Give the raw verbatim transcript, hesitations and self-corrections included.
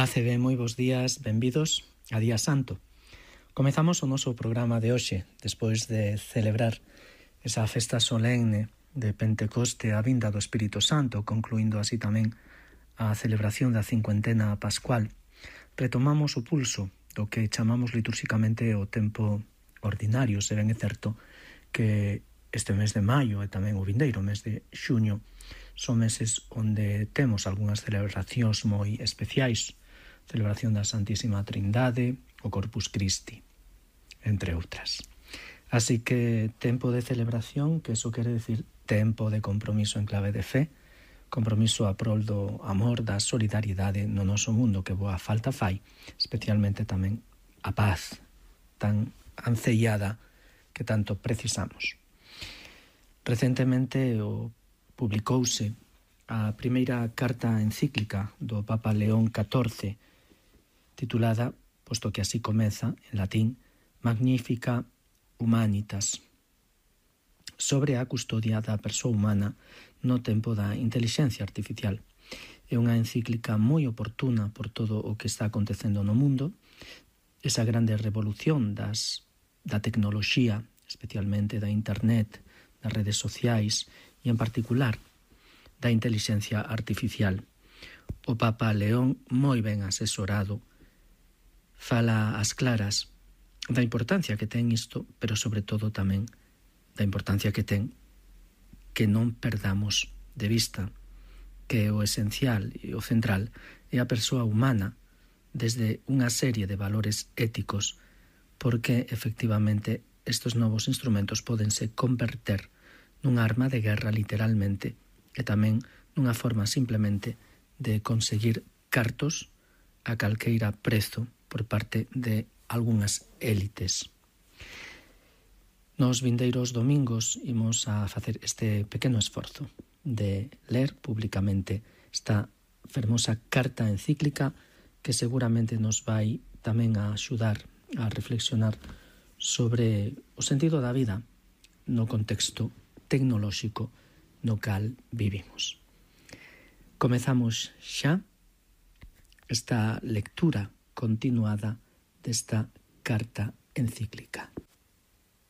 Paz e ben, moi bons días, benvidos a Día Santo. Comezamos o noso programa de hoxe, despois de celebrar esa festa solemne de Pentecoste, a vinda do Espírito Santo, concluindo así tamén a celebración da cincuentena pascual. Retomamos o pulso do que chamamos litúrxicamente o tempo ordinario, se ben é certo que este mes de maio e tamén o vindeiro mes de xuño son meses onde temos algunhas celebracións moi especiais, celebración da Santísima Trindade, o Corpus Christi, entre outras. Así que tempo de celebración, que eso quere decir tempo de compromiso en clave de fe, compromiso a prol do amor, da solidariedade no noso mundo, que boa falta fai, especialmente tamén a paz tan ancellada que tanto precisamos. Recentemente o publicouse a primeira carta encíclica do Papa León catorce, titulada, posto que así comeza, en latín, Magnificat Humanitas, sobre a custodia da persoa humana no tempo da intelixencia artificial. É unha encíclica moi oportuna por todo o que está acontecendo no mundo, esa grande revolución das, da tecnoloxía, especialmente da internet, das redes sociais e, en particular, da intelixencia artificial. O Papa León, moi ben asesorado, fala ás claras da importancia que ten isto, pero sobre todo tamén da importancia que ten que non perdamos de vista que o esencial e o central é a persoa humana desde unha serie de valores éticos, porque efectivamente estes novos instrumentos podense converter nunha arma de guerra literalmente e tamén nunha forma simplemente de conseguir cartos a calqueira prezo por parte de algunhas élites. Nos vindeiros domingos imos a facer este pequeno esforzo de ler públicamente esta fermosa carta encíclica que seguramente nos vai tamén a axudar a reflexionar sobre o sentido da vida no contexto tecnolóxico no cal vivimos. Comezamos xa esta lectura continuada desta carta encíclica.